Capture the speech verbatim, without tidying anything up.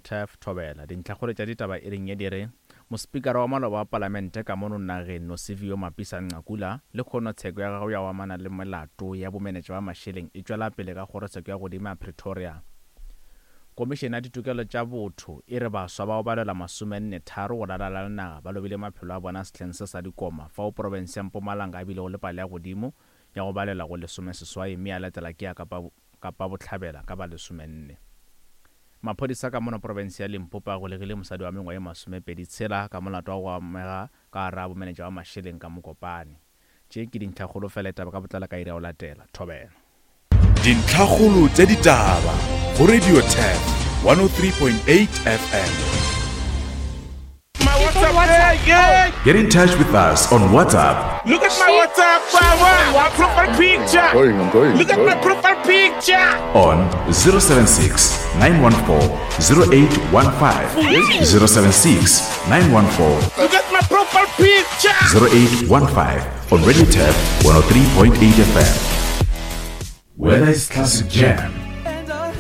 Turf Thobela. Dintlhakgolo tša ditaba e reng ye di re, Mospikara wa maloba wa Palamente ka mono nageng Nosiviwe Mapisa-Nqakula lehono tsheko ya gagwe ya go amana le melato ya bomenetša ba mašeleng e tšwela pele ka kgorotsheko ya godimo ya Pretoria. Komišene ya Ditokelo tša Botho e re baswa ba go balelwa masomenne tharo go ralala le naga ba lobile maphelo a bona sehleng se sa dikoma fao profense ya Mpumalanga e bilego le palo ya godimo ya go balelwa go lesomeseswai mme ya latela ke ya Kapa Kapa Bohlabela ka ba lesomenne. Maphodisa ka mono profense ya Limpopo a golegile mosadi wa mengwa ye masomepedi tshela ka molato wa go amega ka gare ga bomenetša ba mašeleng ka Mokopane. Tše ke dintlhakgolo fela ditaba ka botlalo ka iri ya go latela. Thobela. Dintlhakgolo tša ditaba go Radio Turf one oh three point eight F M. My WhatsApp, yeah, yeah. Get in touch with us on WhatsApp. Look at my WhatsApp, my profile picture. I'm going, I'm going, Look at I'm my going. profile picture. On zero seven six, nine one four, zero eight one five. zero seven six, nine one four. Look at my profile picture. zero eight one five on Radio Turf one oh three point eight F M. Whether it's classic jam,